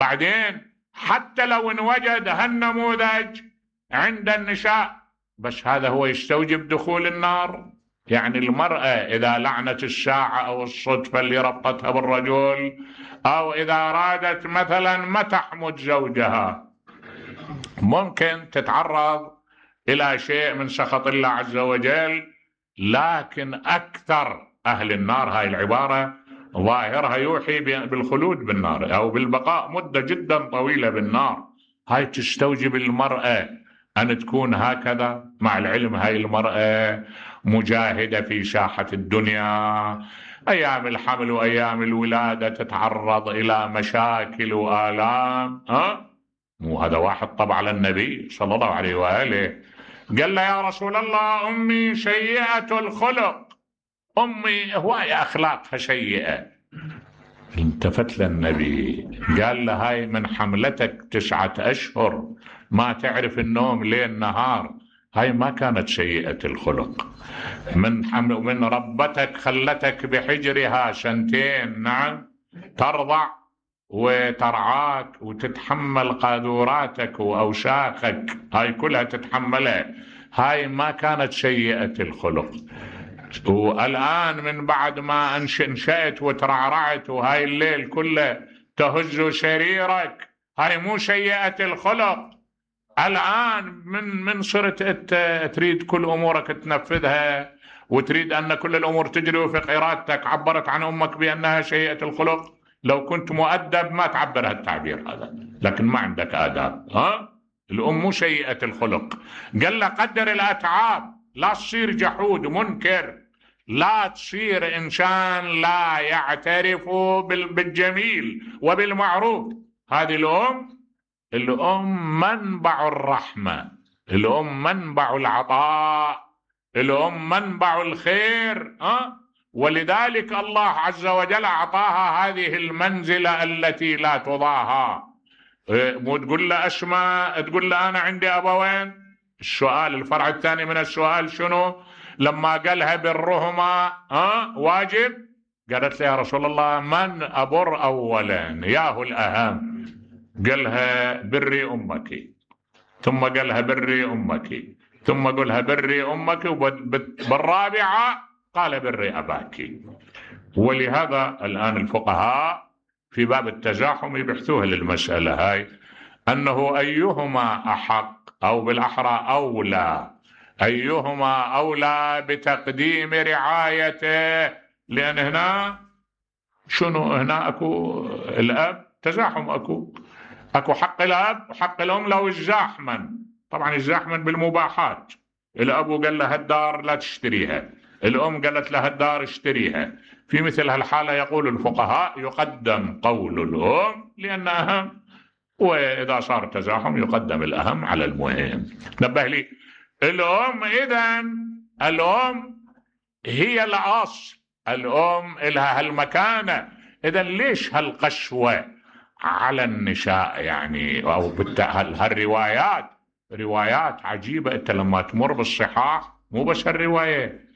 بعدين حتى لو انوجد هالنموذج عند النساء، بس هذا هو يستوجب دخول النار؟ يعني المرأة إذا لعنت الساعة أو الصدفة اللي ربطتها بالرجل، أو إذا أرادت مثلا ما تحمد زوجها، ممكن تتعرض إلى شيء من سخط الله عز وجل. لكن أكثر أهل النار، هاي العبارة ظاهرها يوحي بالخلود بالنار أو بالبقاء مدة جدا طويلة بالنار. هاي تستوجب المرأة أن تكون هكذا. مع العلم هاي المرأة مجاهدة في ساحة الدنيا، أيام الحمل وأيام الولادة تتعرض إلى مشاكل وآلام. مو هذا واحد طبع على النبي صلى الله عليه وآله قال له يا رسول الله أمي سيئة الخلق، أمي هواي أخلاقها سيئة. التفت للنبي قال له هاي من حملتك 9 أشهر ما تعرف النوم ليل نهار، هاي ما كانت سيئة الخلق. من ربتك خلتك بحجرها 2 نعم ترضع وترعاك وتتحمل قاذوراتك وأوساخك، هاي كلها تتحملها، هاي ما كانت سيئة الخلق. والآن من بعد ما انشأت وترعرعت وهاي الليل كله تهز سريرك، هاي مو سيئة الخلق. الآن من صرت تريد كل أمورك تنفذها وتريد أن كل الأمور تجري وفق إرادتك، عبرت عن أمك بأنها سيئة الخلق. لو كنت مؤدب ما تعبر هالتعبير هذا، لكن ما عندك آداب. الأم مو سيئة الخلق. قال له قدر الأتعاب، لا تصير جحود منكر، لا تصير إنسان لا يعترف بالجميل وبالمعروف. هذه الأم منبع الرحمة، الأم منبع العطاء، الأم منبع الخير. ولذلك الله عز وجل أعطاها هذه المنزلة التي لا تضاهى. مو تقول له أسماء، تقول له أنا عندي أبوين. السؤال الفرع الثاني من السؤال شنو؟ لما قالها برهما واجب، قالت له يا رسول الله من أبر أولا؟ ياهو الأهم. قالها بري أمك، ثم قالها بري أمك، ثم قالها بري أمك، بالرابعة قال بري أباك. ولهذا الآن الفقهاء في باب التزاحم يبحثوها للمسألة هاي، أنه أيهما أحق أو بالأحرى أولى، أيهما أولى بتقديم رعايته. لأن هنا شنو؟ هنا أكو الأب تزاحم، أكو حق الأب وحق الأم لو الزاحما. طبعا الزاحما بالمباحات، الأب قال له هالدار لا تشتريها، الأم قالت له هالدار اشتريها. في مثل هالحالة يقول الفقهاء يقدم قول الأم لأنه أهم، وإذا صار تزاحم يقدم الأهم على المهم. نبه لي الأم، إذن الأم هي الأصل، الأم لها هالمكانة. إذن ليش هالقسوة على النساء يعني؟ أو هالروايات روايات عجيبة. أنت لما تمر بالصحاح مو بس الرواية،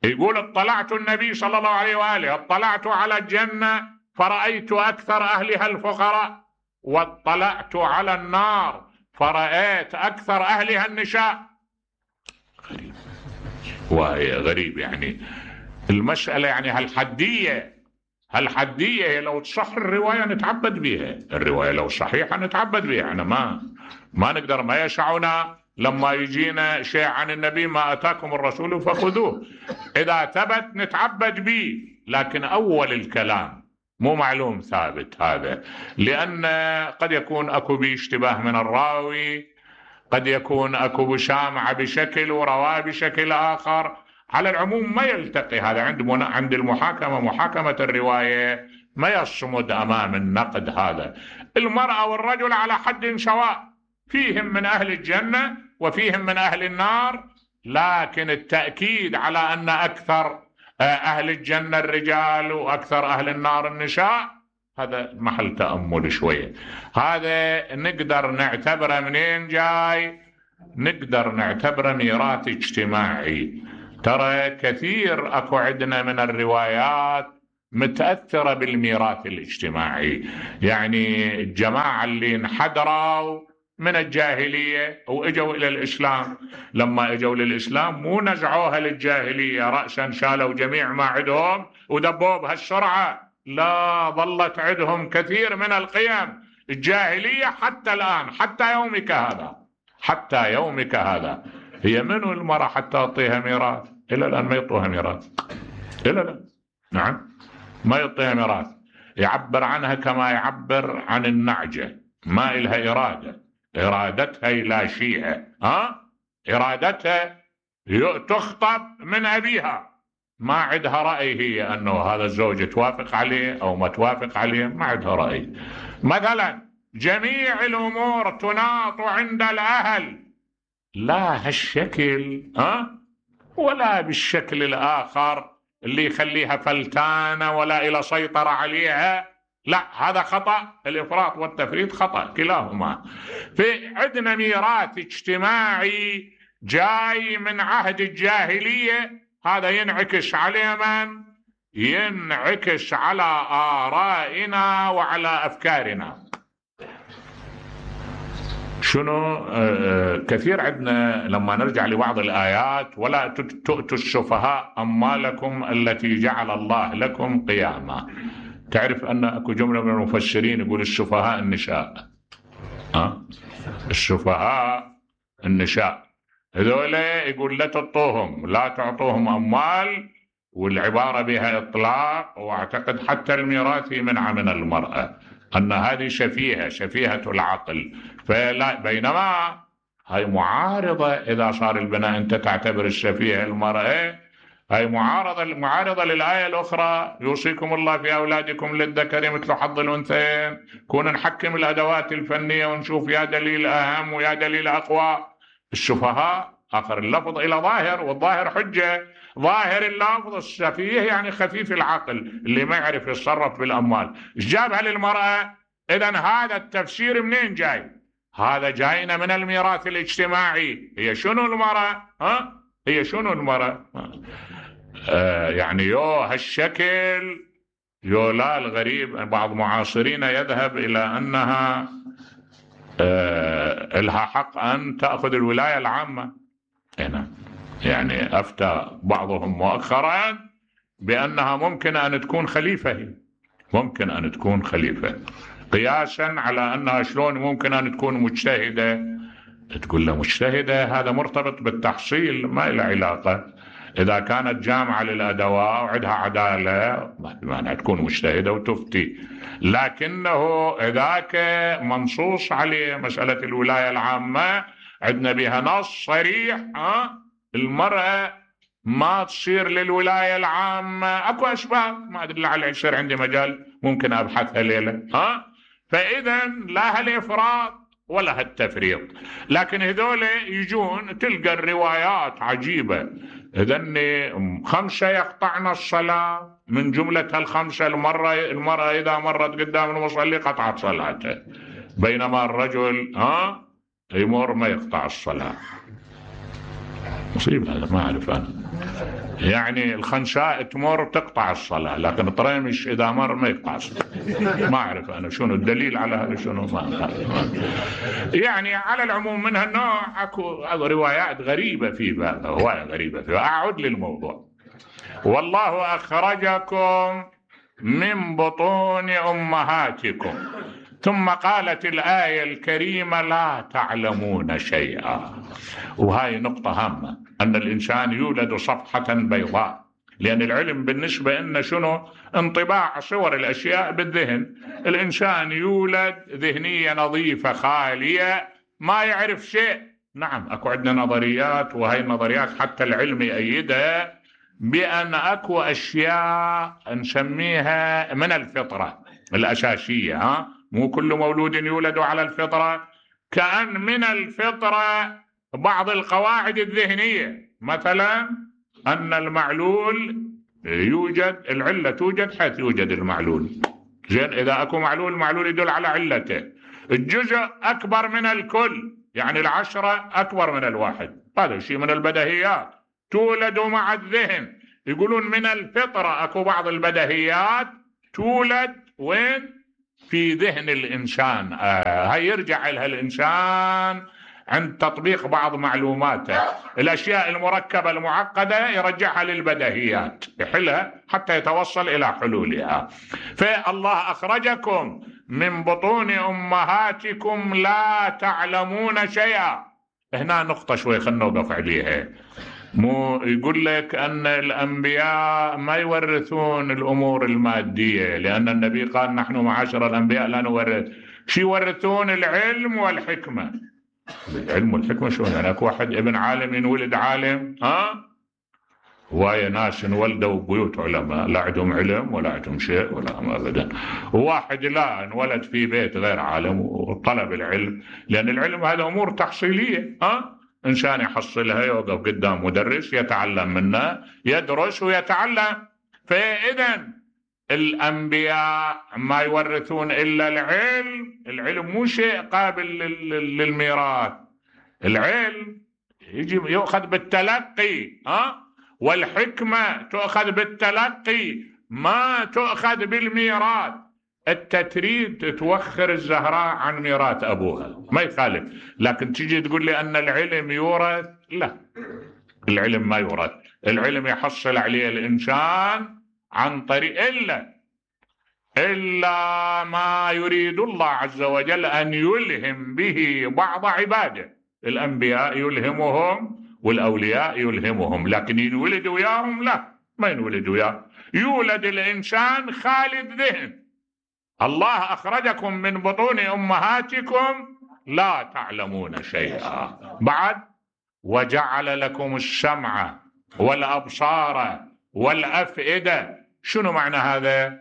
يقول اطلعت النبي صلى الله عليه وآله اطلعت على الجنة فرأيت أكثر أهلها الفقراء، واطلعت على النار فرأيت أكثر أهلها النساء. غريب، وهي غريب يعني المسألة. يعني هالحدية لو تصح الرواية نتعبد بها، الرواية لو صحيحة نتعبد بها. أنا ما نقدر، ما يسعنا لما يجينا شيء عن النبي ما أتاكم الرسول فخذوه، إذا ثبت نتعبد به. لكن أول الكلام مو معلوم ثابت هذا، لأن قد يكون أكو باشتباه من الراوي، قد يكون أكو بشامعة بشكل ورواه بشكل آخر. على العموم ما يلتقي هذا عند المحاكمة، محاكمة الرواية ما يصمد أمام النقد هذا. المرأة والرجل على حد سواء، فيهم من أهل الجنة وفيهم من أهل النار، لكن التأكيد على أن أكثر أهل الجنة الرجال وأكثر أهل النار النساء هذا محل تأمل شوية. هذا نقدر نعتبره منين جاي؟ نقدر نعتبره ميراث اجتماعي. ترى كثير أكو عندنا من الروايات متأثرة بالميراث الاجتماعي. يعني الجماعة اللي انحدروا من الجاهلية وإجوا إلى الإسلام، لما إجوا للإسلام مو نزعوها للجاهلية رأسا، شالوا جميع ما عندهم ودبوا بهالسرعة، لا، ظلت عندهم كثير من القيم الجاهلية حتى الآن، حتى يومك هذا، حتى يومك هذا. هي منو المرأة حتى تعطيها ميراث؟ إلى الآن ما يعطوها ميراث، إلى الآن. نعم، ما يعطيها ميراث. يعبر عنها كما يعبر عن النعجة، ما إلها إرادة، إرادتها لا شيء، إرادتها تخطب من أبيها، ما عندها رأي هي أنه هذا الزوج توافق عليه أو ما توافق عليه، ما عندها رأي. مثلا جميع الأمور تناط عند الأهل، لا هالشكل ولا بالشكل الآخر اللي يخليها فلتانة ولا إلى سيطرة عليها، لا، هذا خطأ. الإفراط والتفريط خطأ كلاهما. في عندنا ميراث اجتماعي جاي من عهد الجاهلية، هذا ينعكس على من؟ ينعكس على آرائنا وعلى أفكارنا. شنو كثير عندنا لما نرجع لبعض الآيات: ولا تؤتوا السفهاء أموالكم التي جعل الله لكم قياما. تعرف أن أكو جملة من المفسرين يقول السفهاء النساء، السفهاء النساء هذول يقول لا تعطوهم، لا تعطوهم أموال، والعبارة بها إطلاق، واعتقد حتى الميراث منع من المرأة، أن هذه شفيهة العقل. فلا، بينما هاي معارضة. إذا صار البناء أنت تعتبر الشفيهة المرأة، هاي معارضة للآية الأخرى: يوصيكم الله في أولادكم للذكر مثل حظ الأنثيين. كنا نحكم الأدوات الفنية ونشوف يا دليل أهم ويا دليل أقوى. السفهاء آخر اللفظ إلى ظاهر، والظاهر حجة. ظاهر اللفظ السفيه يعني خفيف العقل، اللي ما يعرف يتصرف بالأموال. إيش جابها للمرأة؟ إذن هذا التفسير منين جاي؟ هذا جاينا من الميراث الاجتماعي. هي شنو المرأة؟ هي شنو المرأة؟ يعني هالشكل لا، الغريب بعض معاصرين يذهب إلى أنها لها حق أن تأخذ الولاية العامة هنا. يعني أفتى بعضهم مؤخرا بأنها ممكن أن تكون خليفة، ممكن أن تكون خليفة، قياسا على أنها شلون ممكن أن تكون مجتهدة. تقول له مجتهدة، هذا مرتبط بالتحصيل، ما له علاقة. إذا كانت جامعة للأدواء وعندها عدالة ما تكون مجتهدة وتفتي. لكنه ذاك منصوص عليه مسألة الولاية العامة، عندنا بها نص صريح. المرأة ما تصير للولاية العامة. أكو أسباب ما أدري لعل يصير عندي مجال ممكن أبحثها ليلة. فإذا لا هالإفراط ولا هالتفريط. لكن هذول يجون تلقى الروايات عجيبة. إذن 5 يقطعن الصلاة، من جملة هال5 المرأة إذا مرت قدام المصلي قطعت صلاته، بينما الرجل يمر ما يقطع الصلاة. مصيبة هذا، ما أعرف أنا. يعني الخنساء تمر تقطع الصلاة، لكن الطريمش إذا مر ما يقطع الصلاة. ما أعرف أنا شنو الدليل على هذا، شنو ما يعني على العموم من هالنوع أكو روايات غريبة في بعض، رواية غريبة في. أعود للموضوع: والله أخرجكم من بطون أمهاتكم. ثم قالت الآية الكريمة: لا تعلمون شيئا. وهاي نقطة هامة، أن الإنسان يولد صفحة بيضاء، لأن العلم بالنسبة لنا شنو؟ انطباع صور الأشياء بالذهن. الإنسان يولد ذهنية نظيفة خالية، ما يعرف شيء. نعم، أكو عندنا نظريات، وهي النظريات حتى العلم يأيدها، بأن أكو أشياء نسميها من الفطرة الأساسية. مو كل مولود يولد على الفطرة. كأن من الفطرة بعض القواعد الذهنية، مثلا أن المعلول يوجد، العلة توجد حيث يوجد المعلول. زين، إذا أكو معلول، المعلول يدل على علته. الجزء أكبر من الكل، يعني 10 أكبر من 1. هذا شيء من البديهيات، تولد مع الذهن. يقولون من الفطرة اكو بعض البديهيات تولد وين؟ في ذهن الإنسان. هاي يرجع لها الإنسان عند تطبيق بعض معلوماته. الأشياء المركبة المعقدة يرجعها للبديهيات، يحلها حتى يتوصل إلى حلولها. فالله أخرجكم من بطون أمهاتكم لا تعلمون شيئا. هنا نقطة شوي خلنا نوقف عليها. مو يقول لك أن الأنبياء ما يورثون الأمور المادية، لأن النبي قال نحن معاشر الأنبياء لا نورث. شو يورثون؟ العلم والحكمة. العلم والحكمة شو يعني؟ أكو واحد ابن عالم ينولد عالم؟ هواية ناس انولدوا بيوت علماء لا عندهم علم ولا عندهم شيء ولا أبدا. وواحد لا انولد في بيت غير عالم وطلب العلم، لأن العلم هذا أمور تحصيلية. إنسان يحصلها، يوقف قدام مدرس يتعلم منه، يدرس ويتعلم. فإذا الأنبياء ما يورثون إلا العلم. العلم مو شيء قابل للميراث. العلم يجي يؤخذ بالتلقي، والحكمة تؤخذ بالتلقي ما تؤخذ بالميراث. التتريد توخر الزهراء عن ميراث أبوها ما يخالف، لكن تجي تقول لي أن العلم يورث، لا، العلم ما يورث. العلم يحصل عليه الإنسان عن طريق إلا ما يريد الله عز وجل أن يلهم به بعض عباده. الأنبياء يلهمهم والأولياء يلهمهم، لكن ينولد وياهم لا، ما ينولد وياه. يولد الإنسان خالد ذهن. الله أخرجكم من بطون أمهاتكم لا تعلمون شيئا. بعد وجعل لكم السمع والأبصار والأفئدة. شنو معنى هذا؟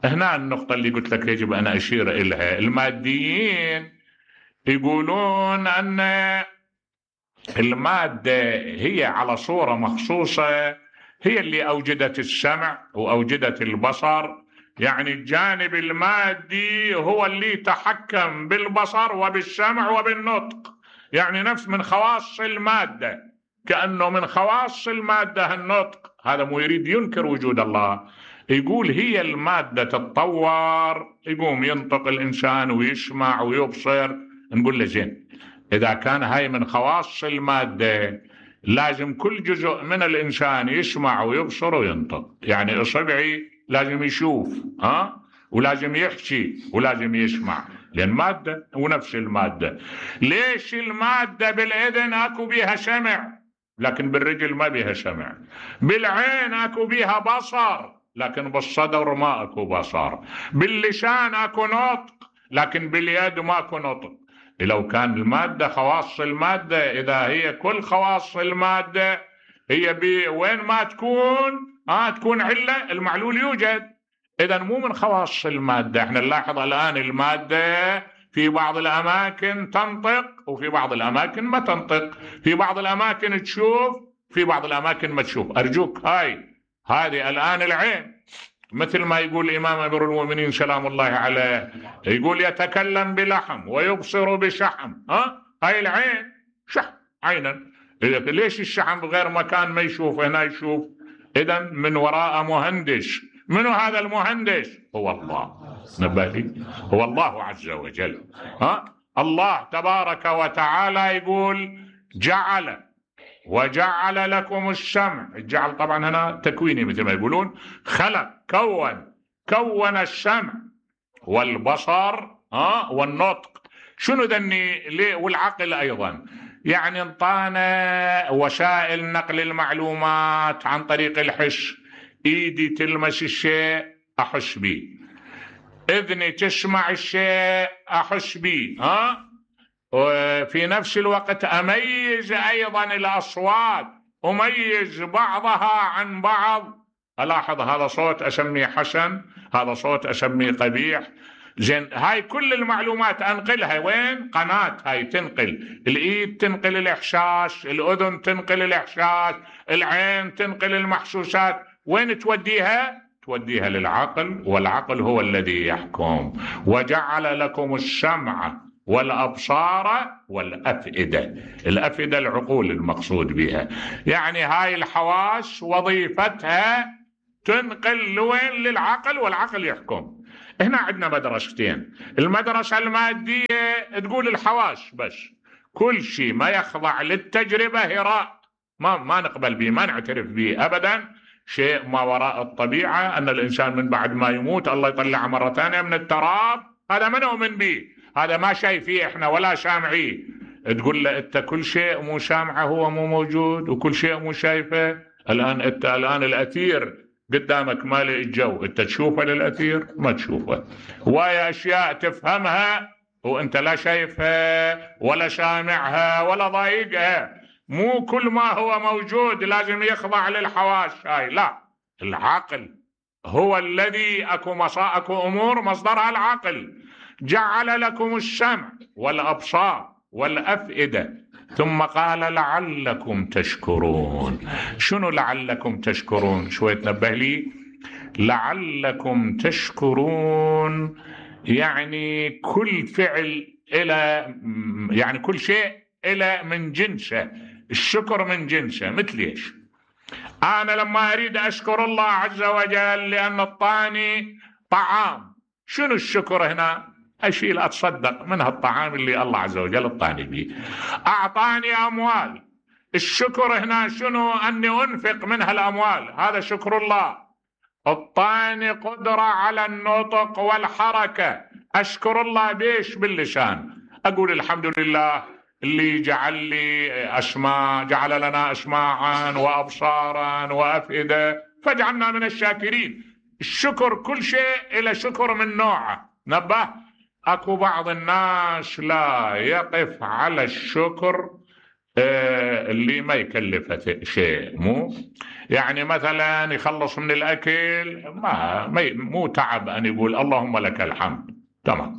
هنا النقطة اللي قلت لك يجب أن أشير إليها. الماديين يقولون أن المادة هي على صورة مخصوصة، هي اللي أوجدت السمع وأوجدت البصر. يعني الجانب المادي هو اللي تحكم بالبصر وبالسمع وبالنطق، يعني نفس من خواص المادة، كأنه من خواص المادة النطق. هذا مو يريد ينكر وجود الله، يقول هي المادة تتطور يقوم ينطق الإنسان ويسمع ويبصر. نقول له زين، إذا كان هاي من خواص المادة لازم كل جزء من الإنسان يسمع ويبصر وينطق. يعني إصبعي لازم يشوف ولازم يحكي ولازم يسمع، لأن مادة ونفس المادة. ليش المادة بالإذن أكو بيها سمع لكن بالرجل ما بيها سمع؟ بالعين أكو بيها بصر لكن بالصدر ما أكو بصر. باللسان أكو نطق لكن باليد ما أكو نطق. لو كان المادة خواص المادة، إذا هي كل خواص المادة هي وين ما تكون تكون علة، المعلول يوجد. إذا مو من خواص المادة. احنا نلاحظ الآن المادة في بعض الأماكن تنطق وفي بعض الأماكن ما تنطق، في بعض الأماكن تشوف في بعض الأماكن ما تشوف. أرجوك هذه الآن العين، مثل ما يقول الإمام أمير المؤمنين سلام الله عليه، يقول يتكلم بلحم ويبصر بشحم. هاي العين شحم عينا. ليش الشحم بغير مكان ما يشوف هنا يشوف؟ إذا من وراء مهندس. من هذا المهندس؟ هو الله. نبالي هو الله عز وجل. الله تبارك وتعالى يقول وجعل لكم السمع. الجعل طبعا هنا تكويني مثل ما يقولون، خلق كون السمع والبصر والنطق. شنو ذني؟ والعقل أيضا. يعني انطانا وسائل نقل المعلومات عن طريق الحس. ايدي تلمس الشيء احس به، اذني تسمع الشيء احس به، وفي نفس الوقت اميز ايضا الاصوات، اميز بعضها عن بعض. الاحظ هذا صوت اسميه حسن، هذا صوت اسميه قبيح. زين، هاي كل المعلومات انقلها وين؟ قناة. هاي تنقل، الايد تنقل الاحساس، الاذن تنقل الاحساس، العين تنقل المحسوسات. وين توديها؟ توديها للعقل، والعقل هو الذي يحكم. وجعل لكم السمع والأبصار والأفئدة. الأفئدة العقول المقصود بها، يعني هاي الحواس وظيفتها تنقل لوين؟ للعقل، والعقل يحكم. هنا عندنا مدرستين. المدرسة المادية تقول الحواس بس، كل شيء ما يخضع للتجربة هراء، ما نقبل به، ما نعترف به أبدا. شيء ما وراء الطبيعة، أن الإنسان من بعد ما يموت الله يطلعه مرة ثانية من التراب، هذا ما نؤمن به، هذا ما شايفيه إحنا ولا سامعيه. تقول له أنت كل شيء مو سامعه هو مو موجود، وكل شيء مو شايفه. الآن الأثير قدامك مالئ الجو، أنت تشوفه للأثير؟ ما تشوفه. وهي أشياء تفهمها وأنت لا شايفها ولا سامعها ولا ضايقها. مو كل ما هو موجود لازم يخضع للحواس هاي، لا. العقل هو الذي أكو أمور مصدرها العقل. جعل لكم السمع والأبصار والأفئدة، ثم قال لعلكم تشكرون. شنو لعلكم تشكرون؟ شوية تنبه لي. لعلكم تشكرون يعني كل فعل إلى، يعني كل شيء إلى من جنسه، الشكر من جنسه. مثل ايش؟ أنا لما أريد أشكر الله عز وجل لأن أعطاني طعام، شنو الشكر هنا؟ أشيل أتصدق من هالطعام اللي الله عز وجل أعطاني به. أعطاني أموال، الشكر هنا شنو؟ أني أنفق من هالأموال، هذا شكر الله. أعطاني قدرة على النطق والحركة، أشكر الله بيش؟ باللسان. أقول الحمد لله اللي جعل لي أسماع، جعل لنا أسماعا وأبصارا وأفئدة فاجعلنا من الشاكرين. الشكر كل شيء إلى شكر من نوعه. نبه، أكو بعض الناس لا يقف على الشكر اللي ما يكلفه شيء، مو يعني مثلا يخلص من الأكل مو تعب أن يقول اللهم لك الحمد، تمام.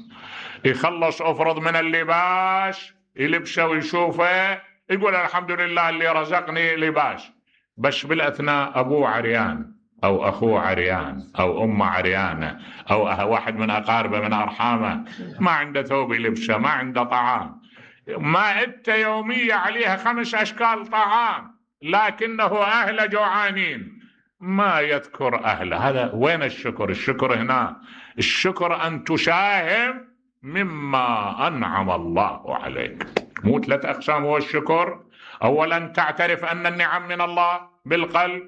يخلص أفرض من اللباس يلبسه ويشوفه يقول الحمد لله اللي رزقني لباس، بس بالأثناء أبوه عريان أو أخوه عريان أو أمه عريانة أو واحد من أقاربه من أرحامه ما عنده ثوب يلبسه، ما عنده طعام، مائدته يومية عليها 5 أشكال طعام، لكنه أهل جوعانين ما يذكر أهله. هذا وين الشكر؟ الشكر هنا، الشكر أن تساهم مما أنعم الله عليك. مو 3 أقسام هو الشكر. أولا تعترف أن النعم من الله بالقلب،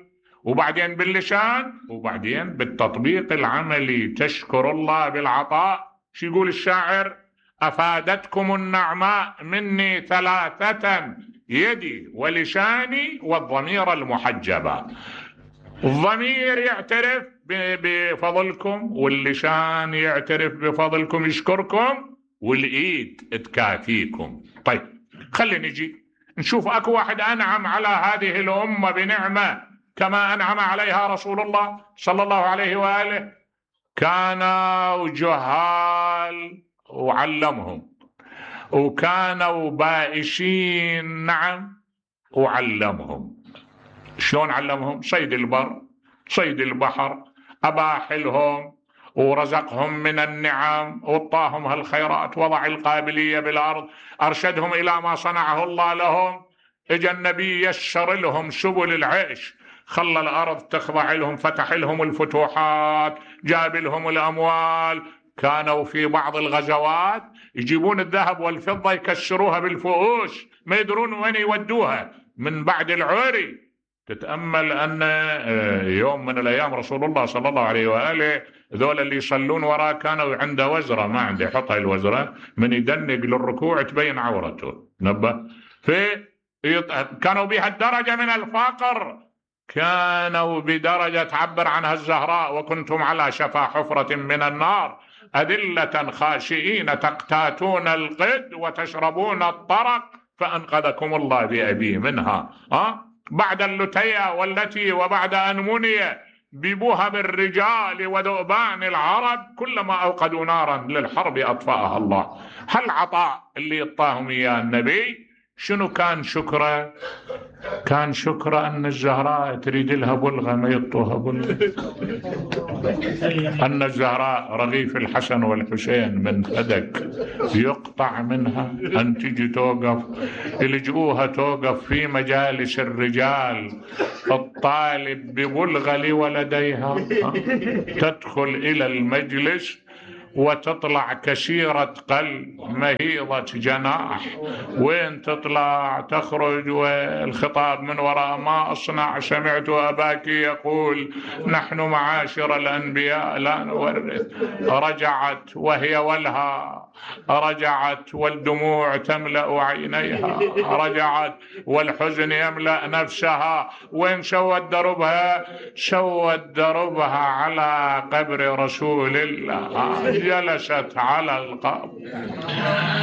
وبعدين باللسان، وبعدين بالتطبيق العملي تشكر الله بالعطاء. شو يقول الشاعر؟ أفادتكم النعماء مني 3 يدي ولساني والضمير المحجبة. الضمير يعترف بفضلكم، واللسان يعترف بفضلكم يشكركم، والإيد تكافيكم. طيب خلينا نجي نشوف أكو واحد أنعم على هذه الأمة بنعمة كما أنعم عليها رسول الله صلى الله عليه وآله. كانوا جهال وعلمهم، وكانوا بائسين نعم وعلمهم. شلون علمهم؟ صيد البر، صيد البحر، أباح لهم ورزقهم من النعم وطاهم هالخيرات، وضع القابلية بالأرض، أرشدهم إلى ما صنعه الله لهم. إجا النبي يسر لهم سبل العيش، خلى الأرض تخضع لهم، فتح لهم الفتوحات، جاب لهم الأموال. كانوا في بعض الغزوات يجيبون الذهب والفضة يكسروها بالفؤوس، ما يدرون وين يودوها من بعد العوري. تتأمل أن يوم من الأيام رسول الله صلى الله عليه وآله ذول اللي يصلون وراه كانوا عنده وزرة، ما عنده، يحط هاي الوزرة من يدنق للركوع تبين عورته. نبه، كانوا بها الدرجة من الفقر، كانوا بدرجة تعبر عنها الزهراء: وكنتم على شفا حفرة من النار أذلة خاشئين تقتاتون القد وتشربون الطرق فأنقذكم الله بأبي منها. بعد اللتية والتي وبعد أن مني ببهم الرجال وذؤبان العرب كلما أوقدوا نارا للحرب أطفأها الله. هالعطاء اللي يطاهم إياه النبي شنو كان شكره؟ كان شكره أن الزهراء تريد لها بلغة ما يطوها بلغة، أن الزهراء رغيف الحسن والحسين من فدك يقطع منها، أن تجي توقف يلجؤوها توقف في مجالس الرجال الطالب ببلغة لولديها، تدخل إلى المجلس وتطلع كسيرة قلب مهيضة جناح، وين تطلع تخرج والخطاب من وراء ما أصنع، سمعت أباك يقول نحن معاشر الأنبياء لا نورث. رجعت وهي ولها، رجعت والدموع تملأ عينيها، رجعت والحزن يملأ نفسها. وين سوت دربها؟ سوت دربها على قبر رسول الله، جلست على القبر.